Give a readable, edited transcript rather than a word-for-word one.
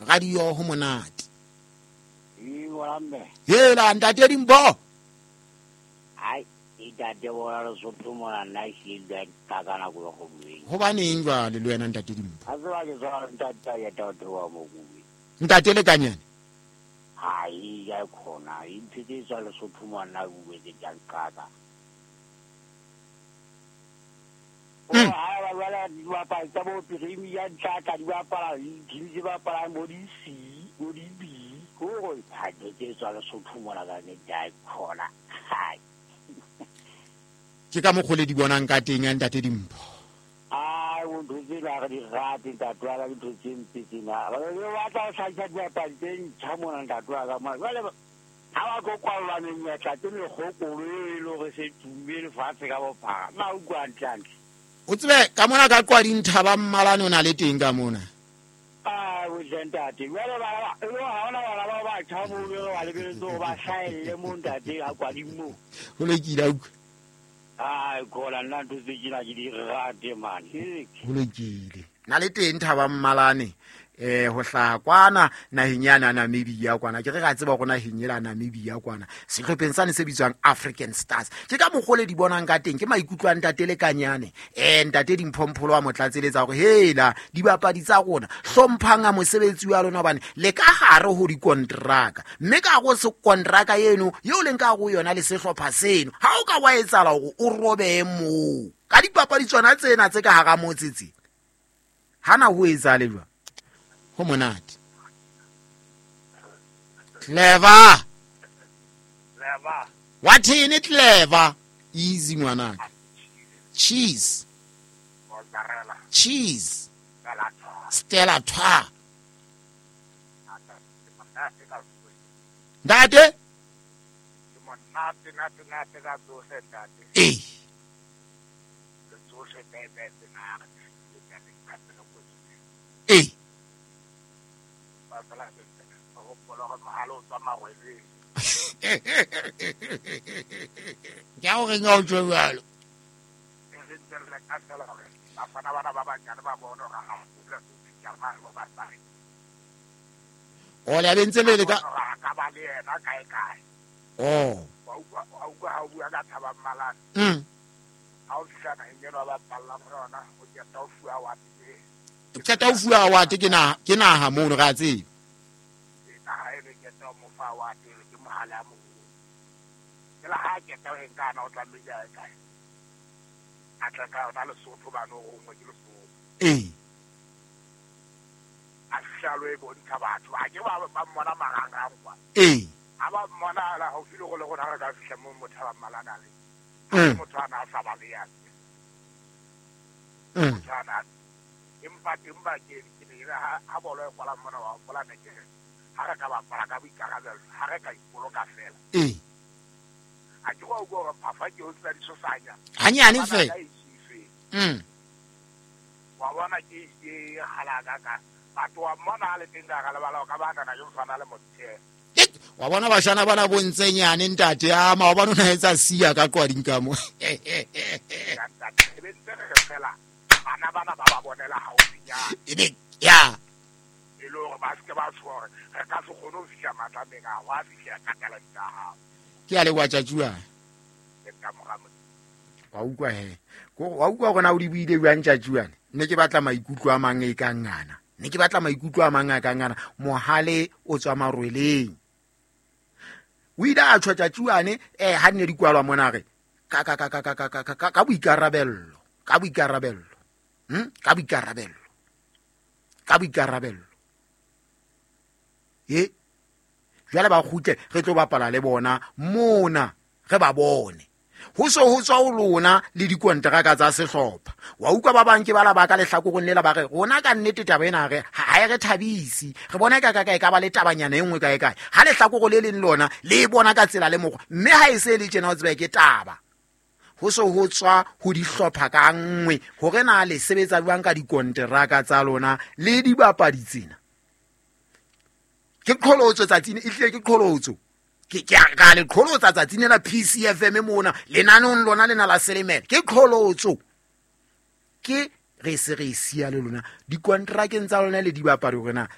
Radio ho monate. Hela ntate Dimpho. Ai, ntate bona Lesotho mona nna ehlile ka ka nako ya go bueng. Hobaneng jwale le wena ntate Dimpho? A tseba ke tswa ntate ya tate wa mo kuwe. Ntate Lekanyane. Hai, ya khona, intho tse tswa Lesotho mona bue tse tsa nqaka. Ha ba bala dibapadi tsa bo Premier tsa di bapala, di tse bapalang bo di C, bo di B. Hore ha ke tswa Lesotho mona ka nnete ha khona. Hai. Ke ka mokgwa le di bonang ka teng ya ntate Dimpho. Ai, o ntho tsena re di rate ntate wa ka, dintho tse mpe tsena. Ba le batla ho hlahisa dibapadi tse ntjha mona ntate wa ka mona. Jwale ha ba tlo kwallwa menyetla ke mekgokolo eo e le hore se tumme lefatshe ka bophara. Nna utlwa hantle-hantle. O tsebe ka mona ka Qwading Thaba Mmalane o na le teng ka mona. Ai, o tle ntate. Jwale bana ba, e le ha hona bana ba batjha mono re ba lebeletse hore ba hlahelle moo ntate ha Qwading moo. Ho lokile, a utlwa. Ai, khola nna ntho tse tjena ke di rate man. Ho lokile. Na le teng Thaba Mmalane, ho hlaha kwana naheng ya Namibia kwana. Ke re ra tseba hore naheng ela Namibia kwana, sehlopheng sane se bitswang African Stars. Ke ka mokgwa le di bonang ka teng, ke maikutlo a ntate Lekanyane. Ntate Dimphompholo wa motlatseletsa hore hela dibapadi tsa rona hlomphang a mosebetsi wa lona hobane le ka hare ho dikontraka. Mme ka hare ho kontraka eno eo leng ka hare ho yona le sehlopha seno, ha o ka wa etsahala hore o robehe moo ka dipapadi tsona tsena tse ka hara motse tse, hana ho etsahale jwang? Ho monate. Clever. Clever. Wa thene clever? Easy ngwanaka. Cheese. Mozzarella. Cheese. Stella Twa. Ntate? Monate, nate, nate ka tsohle ntate. Ee. Tsohle bebe tsena re Ee. Ba fela ba hopola hore mohale o tswa marweleng. Ke a o reng ha o tjho jwalo? E re ntse re leka fela hore bafana bana ba banyane ba bone hore ha ho dula ho fihla mane bo basadi. O le abentse le le ka Hore a ka ba le yena kae kae. Oh. Wa utlwa ha o bua ka Thaba Mmalane. Ha o fihla naheng eno ba bapallang ho yona, o qeta ho fuwa award e. Qeta ho fuwa award ke naha, ke naha mono re a tseba. Naha eno e qeta ho mo fa award eno ke mohale a moholo. Ke la ha qeta ho e nka ana o tlamehile a ye kae? A tle ka yona Lesotho bane o rongwe ke Lesotho. Ee. A fihla lo e bontsha batho. Ha ke ba mmona marangrang kwa. Ee. Ha ba mmona la haufi le rona rona re ka fihla moo motho a ba mmalana le. Motho ana a sa ba le ya. Motho ana. Empa teng ba ke ke ne ke ha bolo e kwala mona wa hopola ne ke ha re ka bapala ka boikarabelo, ha re ka ipoloka fela. Ee. A ke go utlwa hore phafa ke ho tsena disosanya. Hanyane fela. Ka e Wa bona ke ke halaka ka. Batho wa mmona ha le teng ka hara lebala o ka ba nana ke mfana le motho. Wa bona bashana bana bo ntsenyane ntate a ma wa bona o na etsa siya ka Qwading ka mo. Ya ntate, e be ntse re re fela bana bana ba ba bonela haufinyana. Ebe ya. E le hore ba se ke ba tshoha hore re ka se kgone ho fihla matlameng a ho a fihla ka talente ya hao. Ke a leboha Tjatjuane. Ke ka mora motho. Wa utlwa he. Ko wa utlwa hore na o di buile jwang Tjatjuane? Ne ke batla maikutlo a mang e kang ana. Ne ke batla maikutlo a mang a kang ana. Mohale o tswa marweleng. O ile a tjho Tjatjuane, ha nne di kwalwa mona re ka ka ka ka ka ka ka ka ka boikarabello, ka boikarabello. Ka boikarabello. Ka boikarabello. E jwale ba kgutle re tlo bapala le bona mona re ba bone. Ho so ho tswa ho lona le dikonteraka tsa sehlopha. Wa utlwa ba bang ke bala ba ka lehlakoreng lela ba re rona ka nnete taba ena re ha e re thabise. Re bona ka ka ka e ka ba le tabanyana e nngwe kae kae. Ha lehlakore le leng lona le e bona ka tsela le mokgwa, mme ha e se le tjena o tseba ke taba. Ho so ho tswa ho dihlopha ka nngwe hore na le sebetsa jwang ka dikonteraka tsa lona le dibapadi tsena. Ke qholotso tsatsing, e hlile ke qholotso. Ke ka le qholotsa tsatsing lena PCFM mona lenaneong lona lena la Selemela. Ke qholotso. Ke re se re siya le lona dikontrakeng tsa lona le dibapadi hore na